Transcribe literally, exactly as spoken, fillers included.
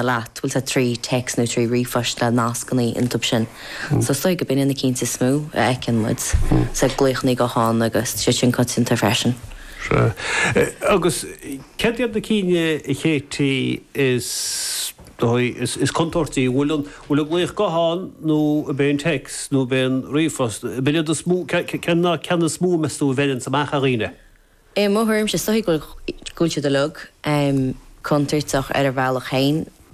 Leat, bhfuil sé trí text nó trí ríomhphost le nascanna iontu sin. So is dóigh go b'in na cinn is mó a fheiceann muid. So glaochanna gutháin agus sé sin coitianta freisin. Agus cad iad na cinn a Chéití is is is contúirtí bhfuil an bhfuil an glaoch gutháin nó ab é an text nó ab é an ríomhphost ab iad is mó cén ceann is mó meas tú a bheireann amach ar dhaoine. I mo thuairimse is dóigh go bhfuil siad uilig um, contúirteach ar a bhealach féin.